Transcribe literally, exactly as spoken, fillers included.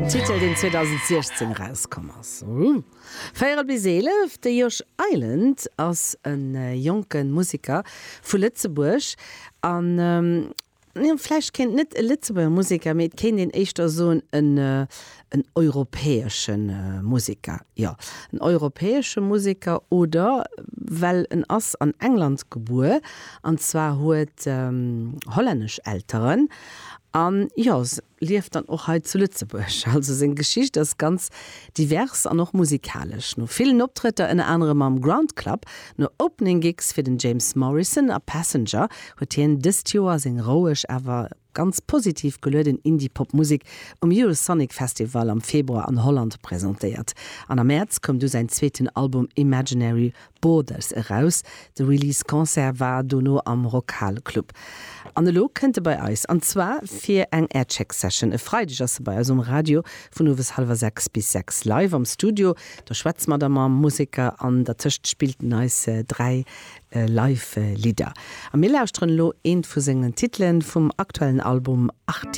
En Titel, deen zweedausentsiechzéng erauskomm ass. Véierel bis eelef. De Yosh Island ass e jonke Museker vu Lëtzebuerg an vläicht kéint net e Lëtzebuerger Museker, mee et kéint een éischter soen en en europäesche Museker. Jo, en europäesche Museker oder well en ass an England gebuer an zwar huet hollännesch Elteren an jo, lieft dann och hei zu Lëtzebuerg. Also seng Geschicht ass ganz divers an och musikalesch. No villen Optrëtter ënner anerem am Ground Club, no Opening Gigs fir den James Morrison a Passenger huet hien dëst Joer seng roueg awer ganz positiv gelueden Indie-Pop-Musek um Eurosonic Festival am Februar an Holland presentéiert. An am Mäerz koum du säin zweeten Album Imaginary Borders eraus. De Release Concert war dono am Rockhal Club. An elo kënnt e bei eis, an zwar fir eng Aircheck Session. E Freideg ass e bei eis um Radio vun owes hallwer sechs bis sechs live am Studio. Do schwätze mer da mam Museker an dertëscht spillt en eis dräi Live Lidder. A mir lauschteren elo eent vu sengen Titelen vum aktuellen Album Artemis.